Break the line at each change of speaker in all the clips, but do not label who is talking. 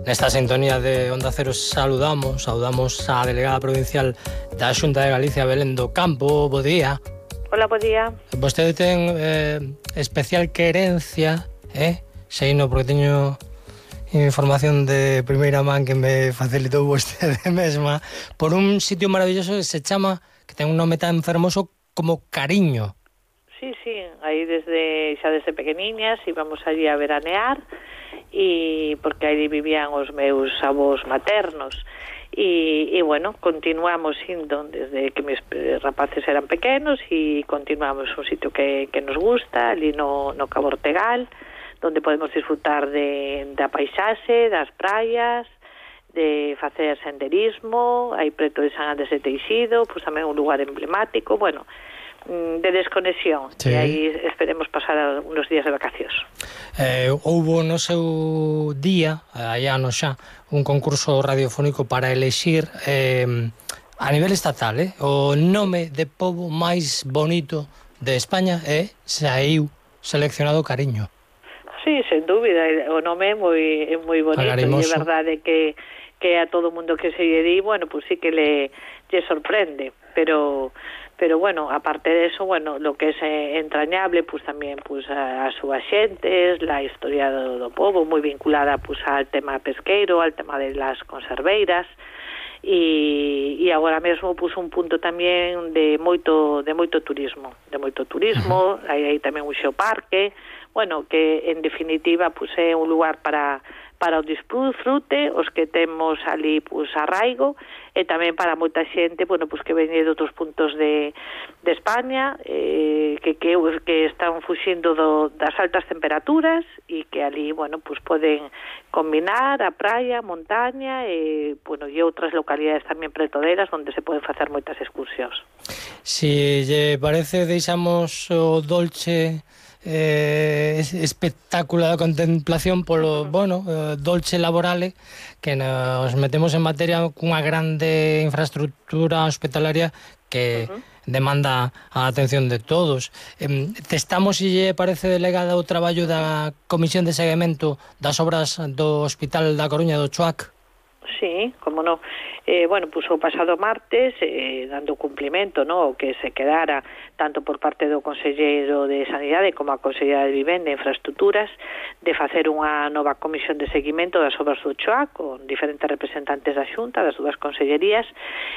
Nesta sintonía de Onda Cero saudamos a delegada provincial da Xunta de Galicia, Belén do Campo. Bo día.
Hola, bo día.
Vostede ten especial querencia, seino porque teño información de primeira man que me facilitou vostede mesma, por un sitio maravilloso que se chama, que ten un nome tan fermoso como Cariño.
Sí, aí xa desde pequeniñas íbamos allí a veranear, e porque aí vivían os meus avós maternos, e bueno, continuamos indo desde que mis rapaces eran pequenos, e continuamos un sitio que nos gusta, ali no Cabo Ortegal, donde podemos disfrutar da paisaxe, das praias, de facer senderismo, aí preto de San Andrés de Teixido, pois tamén un lugar emblemático, bueno, de desconexión,
sí.
E aí esperemos pasar unos días de vacacións.
Houbo no seu día, hai anos xa, un concurso radiofónico para elexir a nivel estatal o nome de pobo máis bonito de España, e saiu seleccionado Cariño.
Sí, sen dúbida, o nome é moi bonito, e é verdade que a todo mundo que se lle di, bueno, pues sí que lle sorprende, pero bueno, aparte de eso, bueno, lo que es entrañable, pues también pues a súas xentes, la historia do pobo, moi vinculada pues al tema pesqueiro, al tema de las conserveiras, e agora mesmo pues un punto tamén de moito turismo, hai tamén un xeoparque, bueno, que en definitiva pues é un lugar para o disfrute, os que temos ali pues arraigo, e tamén para moita xente, bueno, pues que veñe de outros puntos de España, que están fuxindo das altas temperaturas, e que ali, bueno, pues poden combinar a praia, a montaña, e bueno, e outras localidades tamén preto delas, onde se poden facer moitas excursións.
Si lle parece, deixamos o dolce espectáculo da contemplación polo, bueno, dolce laborale, que nos metemos en materia cunha grande infraestructura hospitalaria que demanda a atención de todos. Testamos, se lle parece, delegada, o traballo da Comisión de Seguimento das obras do Hospital da Coruña, do CHOAC?
Sí, como non. Bueno, pues o pasado martes, dando cumplimento, ¿no?, o que se quedara tanto por parte do Conselleiro de Sanidade como a Consellera de Vivenda e Infraestructuras, de facer unha nova comisión de seguimento das obras do CHOAC con diferentes representantes da Xunta, das dúas consellerías,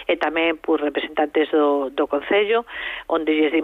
e tamén por representantes do Concello, onde lles dimos